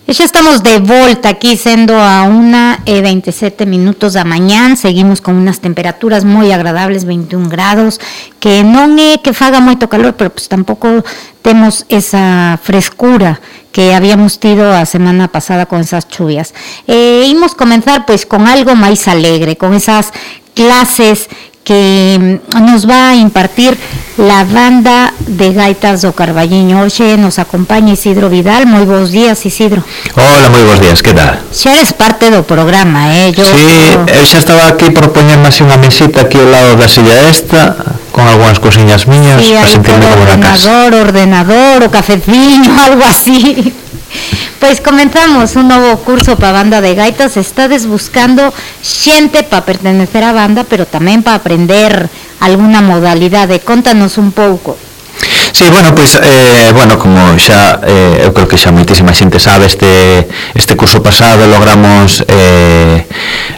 E xa estamos de volta aquí, sendo a 1:27 da mañán. Seguimos con unas temperaturas moi agradables, 21 grados, que non é que faga moito calor, pero pues tampouco temos esa frescura que habíamos tido a semana pasada con esas chuvias. Imos comenzar pois con algo máis alegre, con esas clases que nos va a impartir la banda de gaitas do Carballiño. Hoxe nos acompaña Isidro Vidal. Moi bons días, Isidro. Hola, moi bons días, que tal? Xa eres parte do programa, Yo, sí, eu xa estaba aquí por poñerme así unha mesita aquí ao lado da silla esta, con algunhas cosiñas miñas, sí, para sentirme como na casa. Ordenador, o cafeciño, algo así. Pois comenzamos un novo curso para a banda de gaitas. Estades buscando xente para pertenecer á banda, pero tamén para aprender alguna modalidade. Contanos un pouco. Sí, bueno, pois, como xa, eu creo que xa moitísima xente sabe, este curso pasado logramos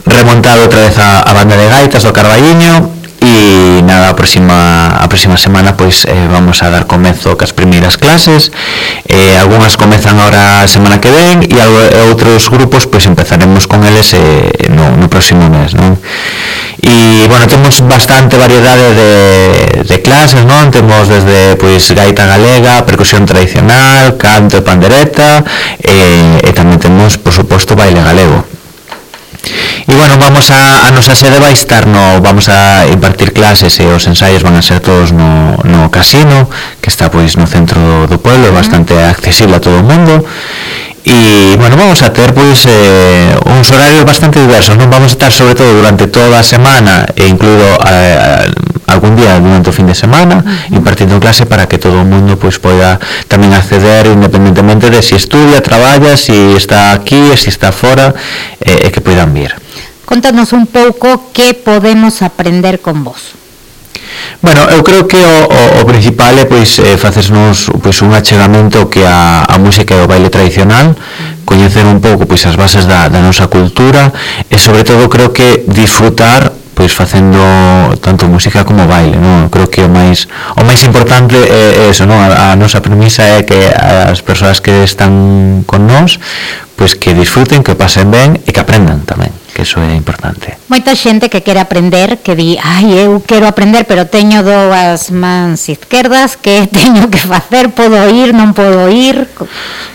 remontar outra vez a banda de gaitas do Carballiño. E nada, a próxima semana pois vamos a dar comezo cas primeiras clases. Algunhas comezan ahora a semana que ven e outros grupos pois empezaremos con eles no próximo mes, non? E, bueno, temos bastante variedade de clases, non? Temos desde pois gaita galega, percusión tradicional, canto e pandereta, e tamén temos, por suposto, baile galego. E, bueno, a nosa sede vai estar vamos a impartir clases e os ensaios van a ser todos no casino, que está pois no centro do pueblo, bastante accesible a todo o mundo. E, bueno, vamos a ter pois uns horarios bastante diversos, non? Vamos a estar sobre todo durante toda a semana e incluído algún día durante o fin de semana impartindo clase para que todo o mundo pois poida tamén acceder independentemente de si estudia, traballa, si está aquí e si está fora, e que poidan vir. Contanos un pouco que podemos aprender con vos. Bueno, eu creo que o principal é pois facernos pois un achegamento que a música e o baile tradicional, coñecer un pouco pois as bases da nosa cultura e sobre todo creo que disfrutar pois facendo tanto música como baile, non? Creo que o máis importante é eso, non? A nosa premisa é que as persoas que están con nós pois que disfruten, que pasen ben e que aprendan tamén, que iso é importante. Moita xente que quere aprender, que di, eu quero aprender, pero teño dúas mans izquierdas, que teño que facer, podo ir, non podo ir?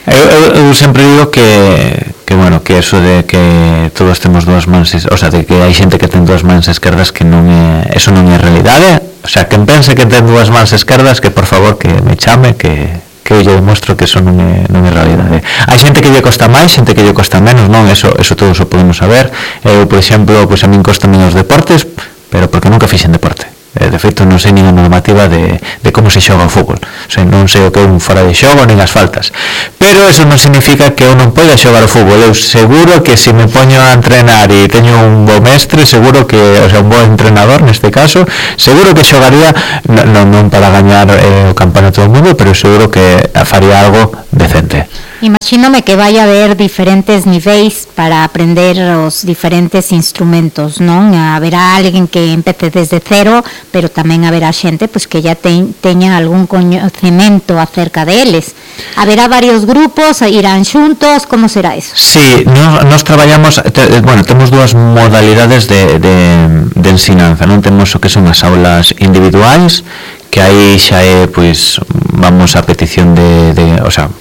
Eu sempre digo que eso de que todos temos dúas mans, o sea, de que hai xente que ten dúas mans esquerdas, que eso non é realidade. O sea, quen pense que ten dúas mans esquerdas, que por favor que me chame, que eu lle demostro que eso non é realidade. Hai xente que lle costa máis, xente que lle costa menos, non? Eso todos o podemos saber. Eu, por exemplo, pois a min costa menos deportes, pero porque nunca fixen deporte. De feito, non sei nin a normativa de como se xoga o fútbol. O sea, non sei o que é un fora de xogo nin as faltas. Pero eso non significa que eu non poida xogar o fútbol. Eu seguro que se me poño a entrenar e teño un bo mestre, seguro que, o sea, un bo entrenador neste caso, seguro que xogaría non para gañar o campeonato do mundo, pero seguro que faría algo decente. Imagínome que vai haber diferentes niveis para aprender os diferentes instrumentos, non? Haberá alguén que empece desde cero, pero tamén haberá xente pois que ya teña algún coñecemento acerca deles. Haberá varios grupos, irán xuntos, como será eso? Sí, nos traballamos, temos dúas modalidades de ensinanza, non? Temos o que son as aulas individuais, que aí xa é, pois, vamos a petición o sea,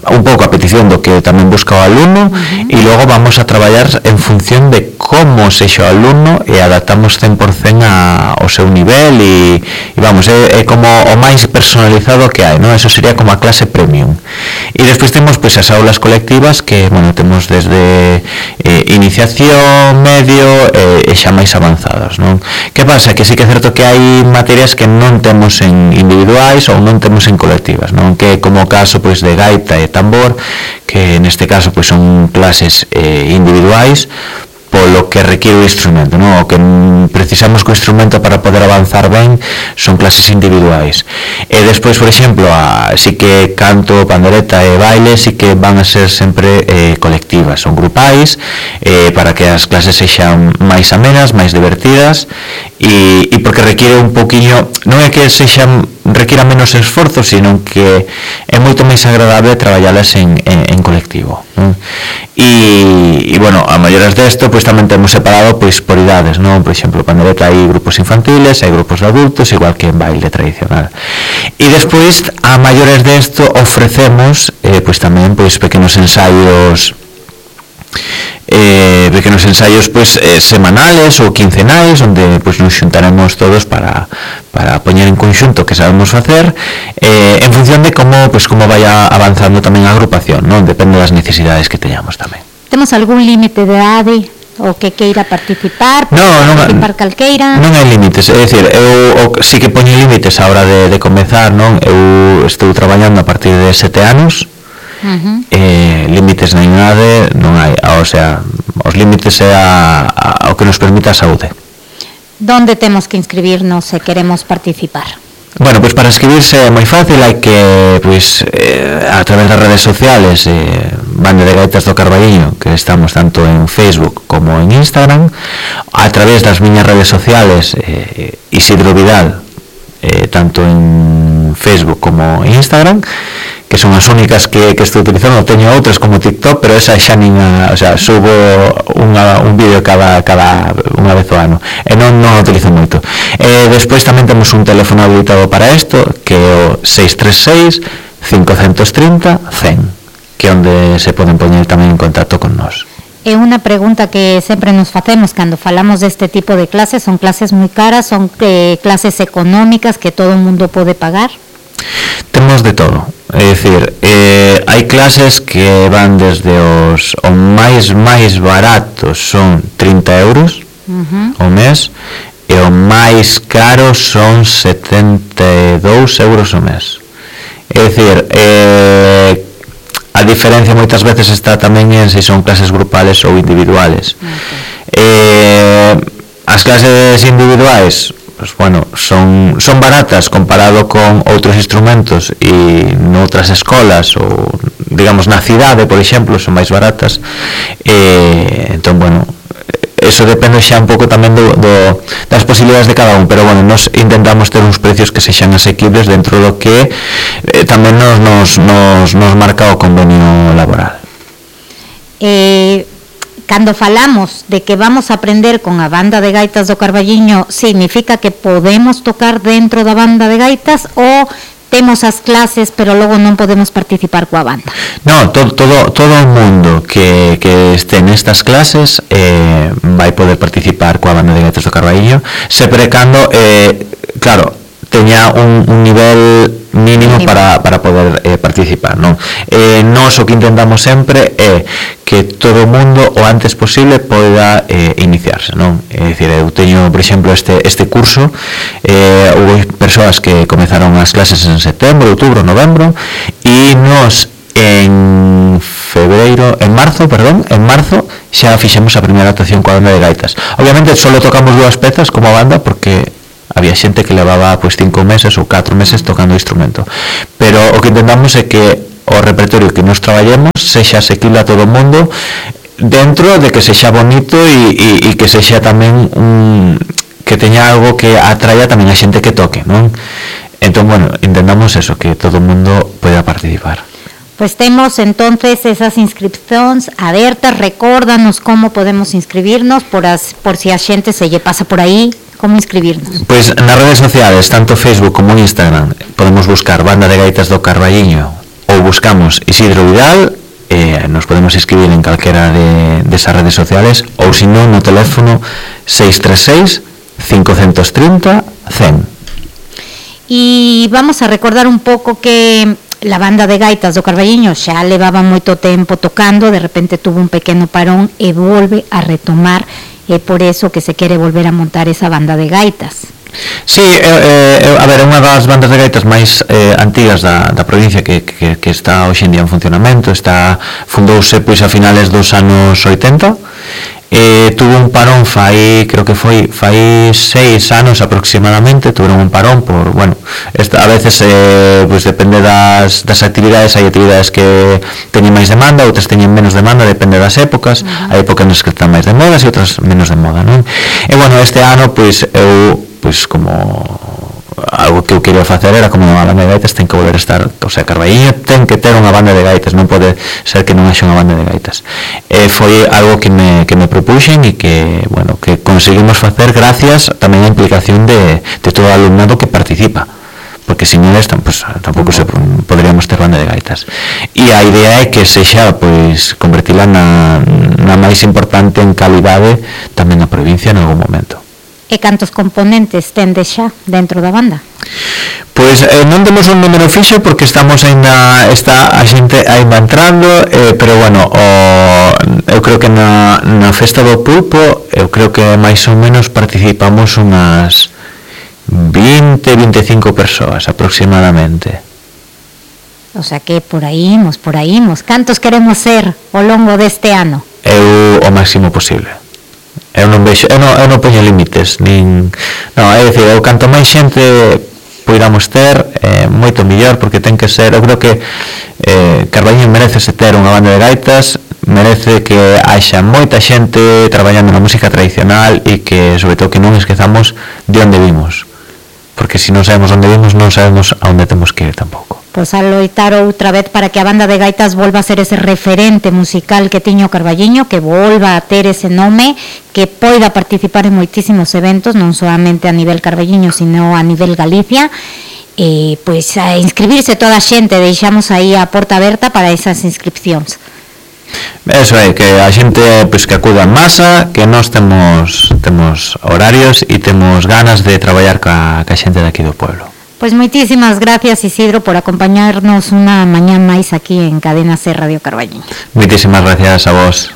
un pouco a petición do que tamén busca o alumno, e logo vamos a traballar en función de como sexa o alumno e adaptamos 100% ao seu nivel e vamos, é como o máis personalizado que hai, non? Eso sería como a clase premium. E despois temos pois as aulas colectivas que, bueno, temos desde iniciación, medio e xa máis avanzadas, non? Que pasa? Que sí que é certo que hai materias que non temos en individuais ou non temos en colectivas, non? Que como o caso pois de gaita e tambor, que neste caso pois son clases individuais polo que requiere o instrumento, non? O que precisamos co instrumento para poder avanzar ben son clases individuais. E despois, por exemplo, si que canto, pandereta e baile si que van a ser sempre colectivas, son grupais, para que as clases sexan máis amenas, máis divertidas, e porque requiere un poquinho, non é que requiera menos esforzo, sino que é moito máis agradable traballalas en colectivo, non? non? E bueno, a maiores desto pois tamén temos separado pois por idades, non? Por exemplo, pandereta hai grupos infantiles, hai grupos de adultos, igual que en baile tradicional. E despois a maiores desto ofrecemos pois tamén pois pequenos ensaios pois semanales ou quincenais, onde pois nos xuntaremos todos para poñer en conxunto que sabemos facer en función de como vaya avanzando tamén a agrupación, non? Depende das necesidades que teñamos tamén. Temos algún límite de idade o que queira participar? Participar calqueira? Non hai límites, é dicir, eu sí que poño límites a hora de comezar, non? Eu estou traballando a partir de 7 anos. Límites na idade non hai, o sea, os límites é o que nos permite a saúde. Donde temos que inscribirnos se queremos participar? Bueno, pois para inscribirse é moi fácil, hai que pois a través das redes sociales Banda de Gaitas do Carballiño, que estamos tanto en Facebook como en Instagram, a través das miñas redes sociales Isidro Vidal, tanto en Facebook como en Instagram, que son as únicas que estou utilizando. Teño outras como TikTok, pero esa xa nin o sea, subo un vídeo cada unha vez ao ano e non o utilizo moito. Despois tamén temos un teléfono habilitado para isto, que é o 636 530 100, que é onde se poden poñer tamén en contacto con nós. É unha pregunta que sempre nos facemos cando falamos deste tipo de clases. Son clases moi caras, son clases económicas que todo o mundo pode pagar? Temos de todo, é dicir, hai clases que van desde os máis baratos son 30 euros ao mes, e o máis caro son 72 euros ao mes. É dicir, a diferencia moitas veces está tamén en se son clases grupales ou individuales. As clases individuais, pues bueno, son baratas comparado con outros instrumentos e noutras escolas ou, digamos, na cidade, por exemplo, son máis baratas. Entón, bueno, eso depende xa un pouco tamén das posibilidades de cada un, pero bueno, nos intentamos ter uns precios que sexan asequibles dentro do que tamén nos marca o convenio laboral. Cando falamos de que vamos a aprender con a Banda de Gaitas do Carballiño, significa que podemos tocar dentro da Banda de Gaitas ou temos as clases pero logo non podemos participar coa banda? No, todo o mundo que este nestas clases vai poder participar coa Banda de Gaitas do Carballiño, sempre cando, claro, teña un nivel mínimo para poder participar, non? Nós o que intentamos sempre é que todo o mundo o antes posible poida iniciarse, non? É dicir, eu teño, por exemplo, este curso, houve persoas que comezaron as clases en setembro, outubro, novembro, e nós en marzo xa fixemos a primeira actuación coa Banda de Gaitas. Obviamente só tocamos 2 pezas como banda porque había xente que levaba pois 5 meses ou 4 meses tocando o instrumento, pero o que intentamos é que o repertorio que nos traballemos sexa asequible a todo o mundo, dentro de que sexa bonito e que sexa tamén que teña algo que atraia tamén a xente que toque, non? Entón, bueno, intentamos eso, que todo o mundo poida participar. Pues temos entonces esas inscripcións abertas. Recórdanos como podemos inscribirnos por si a xente se lle pasa por aí. Como inscribirnos? Pois nas redes sociales, tanto Facebook como Instagram, podemos buscar Banda de Gaitas do Carballiño ou buscamos Isidro Vidal, nos podemos inscribir en calquera desas redes sociales, ou se non no teléfono 636 530 100. E vamos a recordar un pouco que la Banda de Gaitas do Carballiño xa levaba moito tempo tocando, de repente tuvo un pequeno parón e volve a retomar. É por eso que se quere volver a montar esa Banda de Gaitas. Sí, a ver, é unha das bandas de gaitas máis antigas da provincia que está hoxe en día en funcionamento. Fundouse pois a finales dos anos 80. Tuvo un parón creo que fai 6 anos aproximadamente. Tuveron un parón por, bueno, a veces pues depende das actividades. Hai actividades que teñen máis demanda, outras teñen menos demanda, depende das épocas. Hai épocas nas que están máis de moda e outras menos de moda, non? E bueno, este ano pois eu, pois como algo que eu quería facer era como unha banda de gaitas ten que volver a estar, o sea, Carballiño ten que ter unha banda de gaitas, non pode ser que non haxa unha banda de gaitas. Foi algo que me propuxen e que, bueno, que conseguimos facer gracias tamén á implicación de todo o alumnado que participa, porque sin eles pues, tampouco poderíamos ter banda de gaitas. E a idea é que sexa, pois, convertila na máis importante en calidade tamén na provincia en algún momento. E cantos componentes tendes xa dentro da banda? Pois non temos un número fixo porque estamos ainda, está a xente ainda entrando, pero bueno, eu creo que na festa do pulpo, eu creo que máis ou menos participamos unas 20-25 persoas aproximadamente. O sea que por aí imos. Cantos queremos ser ao longo deste ano? Eu o máximo posible. Eu non poño límites, nin, non, é dicir, eu canto máis xente poidamos ter, moito millor, porque ten que ser, eu creo que Carballiño merece ter unha banda de gaitas, merece que haxa moita xente traballando na música tradicional e que, sobre todo, que non esquezamos de onde vimos, porque se non sabemos onde vimos, non sabemos a onde temos que ir tampouco. Pois a loitar outra vez para que a banda de gaitas volva a ser ese referente musical que tiño Carballiño, que volva a ter ese nome, que poida participar en moitísimos eventos, non solamente a nivel Carballiño, sino a nivel Galicia. Pois a inscribirse toda a xente, deixamos aí a porta aberta para esas inscripcións. Eso é, que a xente pois, que acuda en masa, que nós temos horarios e temos ganas de traballar ca xente daqui do pueblo. Pois moitísimas gracias, Isidro, por acompañarnos unha mañá máis aquí en Cadena C Radio Carballiño. Moitísimas gracias a vos.